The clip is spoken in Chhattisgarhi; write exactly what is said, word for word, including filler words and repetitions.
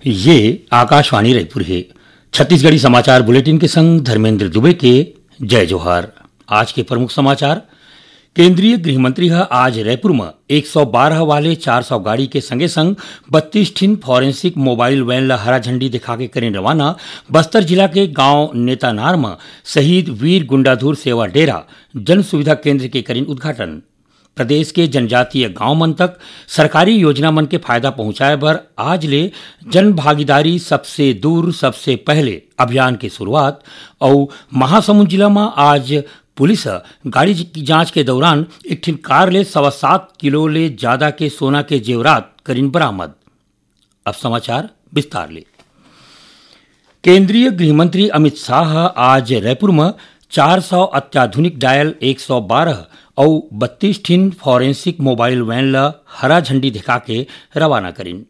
ये आकाशवाणी रायपुर हे। छत्तीसगढ़ी समाचार बुलेटिन के संग धर्मेंद्र दुबे के जय जोहार। आज के प्रमुख समाचार। केंद्रीय गृह मंत्री ह आज रायपुर म एक सौ बारह वाले चार सौ गाड़ी के संगे संग बत्तीस ठिन फॉरेंसिक मोबाइल वैन ल हरा झंडी दिखा के करेन रवाना। बस्तर जिला के गांव नेतानार म शहीद वीर गुंडाधुर सेवा डेरा जन सुविधा केंद्र के करेन उद्घाटन। प्रदेश के जनजातीय गांव मन तक सरकारी योजना मन के फायदा पहुंचाए बर आज ले जन भागीदारी सबसे दूर सबसे पहले अभियान के शुरुआत। अउ महासमुंद जिला म आज पुलिस ह गाड़ी की जांच के दौरान एक ठिन कार ले सवा सात किलो ले ज्यादा के सोना के जेवरात करिन बरामद। अब समाचार विस्तार ले। केंद्रीय गृह मंत्री अमित शाह ह आज रायपुर म चार सौ अत्याधुनिक डायल एक सौ बारह अउ बत्तीस ठिन फॉरेंसिक मोबाइल वैन ल हरा झंडी दिखा के रवाना करिन।